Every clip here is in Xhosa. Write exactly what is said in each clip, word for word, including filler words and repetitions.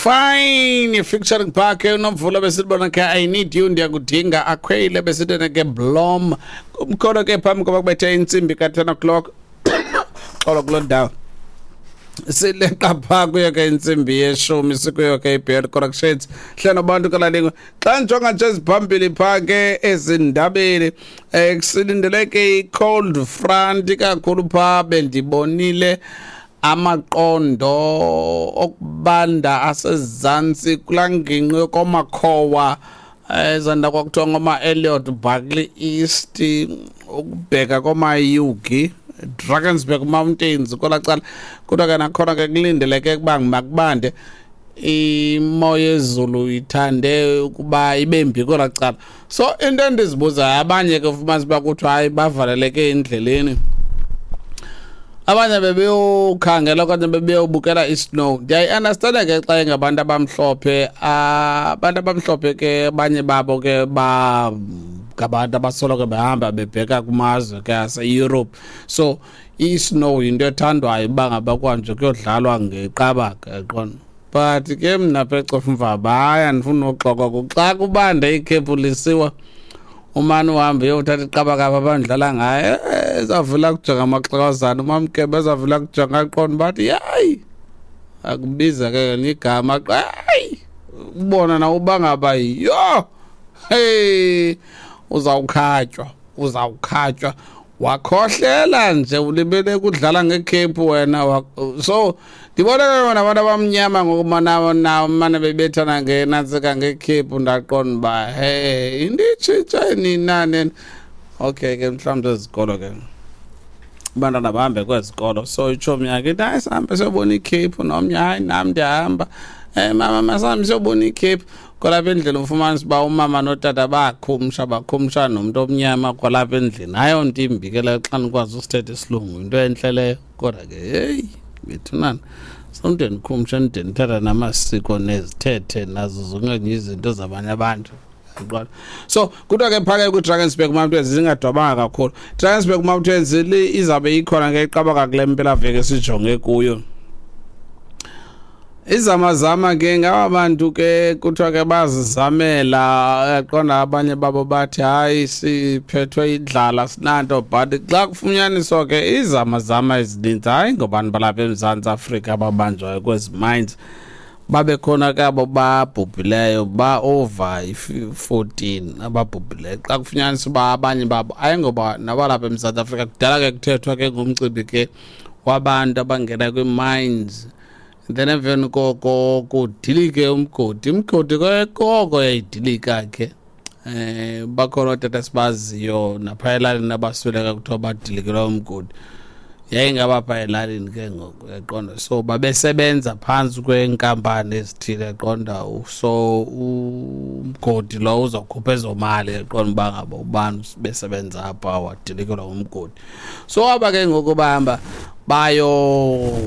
Fine featuring Park uNomvula, besibona ke "I Need You", ndiyakudinga. Akhwele besithene ke Blom kumkhono ke phambi koba kubethe intsimbi ka ten o'clock. Xolo, kuloo ndawo sileqa phaa kuyo ke intsimbi yeshumi, sikuyo ke i-B L Corrections hlelo bantu kalalingwe. Xa ndijonga nje eziphambili phaa ke ezindabeni, um kusilindeleke i-cold front kakhulu phaa. Bendibonile amaqondo okubanda asezantsi kulaa ngingqi yokomakhowa, ezanda kwakuthiwa ngoma-Elliot, Barkly East, ukubheka koomaYugi, Drakensberg Mountains kwelaa cala. Kodwa ke nakhona ke kulindeleke ukuba makubande, imo yezulu ithande ukuba ibe mbi kwelaa cala. So into endizibuzayo, abanye ke ufumanisa uba kuthiwa hayi, bavaleleke endleleni, abanye bebeyokhangela okanye bebeyobukela i-snow. Ndiyayi-understanda ke xa ingabantu abamhlophe. Abantu abamhlophe ke abanye babo ke ba ngabantu abasoloko behamba bebheka kumazwe ke ase-Europe, so i-snow yinto ethandwayo uba ngaba kwanje kuyodlalwa ngeqabaka, yaqonda. But ke mna pha eCofimvaba, hayi, andifuni noxoka, xa kubanda ikhephu lisiwa, umane uhambe uyothatha iqabaka apha abandidlala ngayo, ezavula kujonga amaxhakazana, umamkebe ezavula kujonga, aqonda bathi yayi akubiza ke igama, hayi, ubona na uba ngaba yho, hey, uzawukhatywa, uzawukhatywa, wakhohlela nje, ulibele kudlala ngekhephu wena. So ndibona ke wona abantu abamnyama ngoku mane bebethana ngenantsika ngekhephu, ndaqonda uba hey, into itshintshe nina nini? Okay ke, mhlawumbi zezikolo ke, abantwana bahambe kwezikolo, so itshomi yakhe ithi, "Hayi, sihambe siyobona ikhephu." Nomnye, "Hayi, nam ndiyahamba, um mama, masihambe siyobona ikhephu." Kwalapha endlini ufumanisa uba umama notata bakhumsha, bakhumsha nomntu omnyama kwalapha endlini. Hayi, nto imbi ke leyo xa nikwazi usithetha isilungu, yinto entle leyo. Kodwa ke heyi bethunana, somntu endikhumsha ndide ndithatha namasiko nezithethe nazo zonke izinto zabanye abantu, yaqonda. So kuthiwa ke phake kwi-Drakensberg Mountains zingadwabanga kakhulu. Drakensberg Mountains izawube ikhona ke iqabaka kule mpelaveki esijonge kuyo. Izamazama ke ngaba bantu ke kuthiwa ke bazizamela, yaqonda. Abanye babo bathi, "Hayi, siphethwe indlala, sinanto." But xa kufunyaniswa ke izamazama ezininzi, hayi, ngobantu balapha eMzantsi Afrika ababanjwayo kwezi mines. Babe khona ke abo babhubhileyo, ba-over i-fourteen ababhubhileyo. Xa kufunyaniswa uba abanye babo ayingoba nabalapha eMzantsi Afrika. Kudala ke kuthethwa ke ngomcimbi ke wabantu abangena kwii-mines, then emveni koko kudilike umgodi, umgodi ke koko yayidilika ke. eh bakhona ootata sibaziyo napha elalini abasweleka, kuthiwa badilikelwa umgodi, yayingaba pha elalini ke ngoku, yaqonda. So babesebenza phantsi kweenkampani ezithile, yaqonda. So umgodi lo uzawukhupha ezo mali, yaqonda, uba ngaba ubani besebenza apha wadilikelwa umgodi. So aba ke ngoku bahamba bayorhomba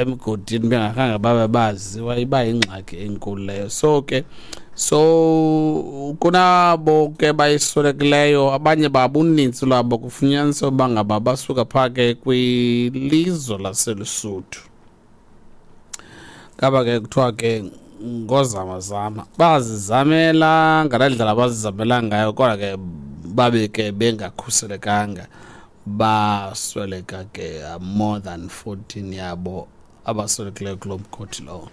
emgodini bengakhange babe baziwa, iba yingxaki enkulu leyo. So ke so kunabo ke bayiswelekileyo, abanye babo, unintsi lwabo kufunyaniswa uba ngaba basuka phaa ke kwilizwe laseLesotho. Ngaba ke kuthiwa ke ngozamazama bazizamela ngalaa ndlela bazizamela ngayo, kodwa ke babe ke bengakhuselekanga, basweleka ke, more than fourteen yabo abaswelekileyo kuloo mgodi lowo.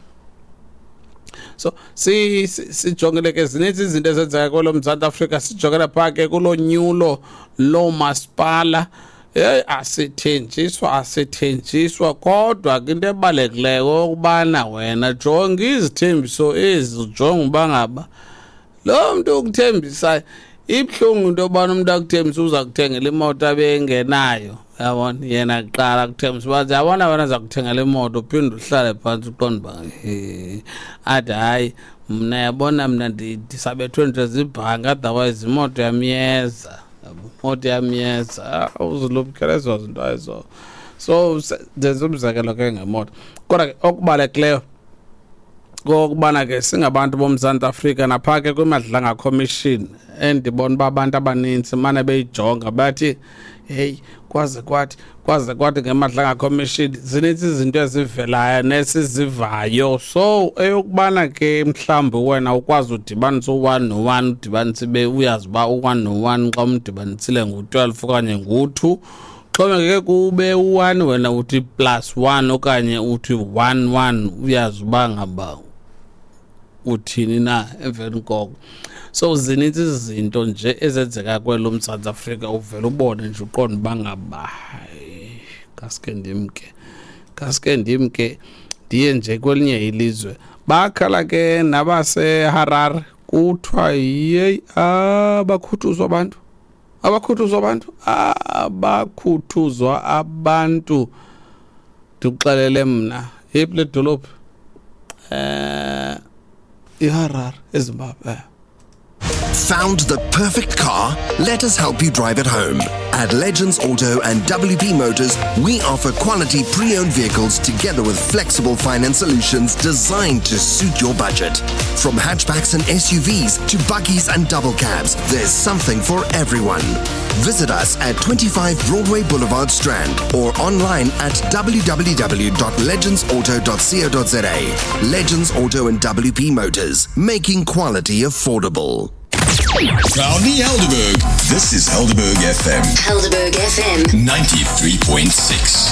So si sijongile ke zininzi izinto ezenzeka kwelo Mzantsi Afrika. Sijongele phaa ke kulo nyulo loomasipala. Heyi, asithenjiswa, asithenjiswa, kodwa ke into ebalulekileyo ukubana wena jonga izithembiso ezi, jonga uba ngaba lo mntu ukuthembisayo. Ibuhlungu into yobana umntu akuthembisa uza kuthengela imoto abe engenayo, yabona. Yena kuqala akuthembisa uba, "Yabona wena, za kuthengela imoto," uphinde uhlale phantsi uqonde uba he, athi, "Hayi, mna, yabona, mna ndisabethwe nje zibhanki, otherwise imoto yam iyeza, imoto yam iyeza." Uzilumkele ezo zinto ezo. So ndenza umzekelo ke ngemoto, kodwa ke okubalulekileyo kokubana ke singabantu boMzantsi Afrika naphaa ke kwiMadlanga Commission, endibona uba abantu abanintsi mane beyijonga, bathi heyi. Kwaze kwathi kwaze kwathi ngeMadlanga Commission, zininzi izinto ezivelayo nesizivayo. So eyokubana ke mhlawumbi wena ukwazi udibanisa u-one no-one, udibanise ibe uyazi uba u-one no-one xa umdibanisile ngu-twelve okanye ngu-two, xhomekeke kube u-one wena uthi plus one okanye uthi one one, uyazi uba ngaba uthini na emveni koko. So zininzi izinto nje ezenzeka kwelo Mzantsi Afrika, uvele ubone nje uqonde uba ngaba hayi, kaske ndimke kaske ndimke ndiye nje kwelinye ilizwe. Bakhala ke nabaseHarare, kuthiwa yeyi, abakhuthuzwa abantu, abakhuthuzwa abantu, abakhuthuzwa abantu. Ndikuxelele mna, yeyiphi le dolophu? Eh iHarare, eZimbabwe. Found the perfect car? Let us help you drive it home. At Legends Auto and W P Motors, we offer quality pre-owned vehicles together with flexible finance solutions designed to suit your budget. From hatchbacks and S U Vs to buggies and double cabs, there's something for everyone. Visit us at twenty-five Broadway Boulevard, Strand, or online at w w w dot legendsauto dot co dot za. Legends Auto and W P Motors, making quality affordable. Proudly Helderberg. This is Helderberg F M. Helderberg F M. ninety-three point six.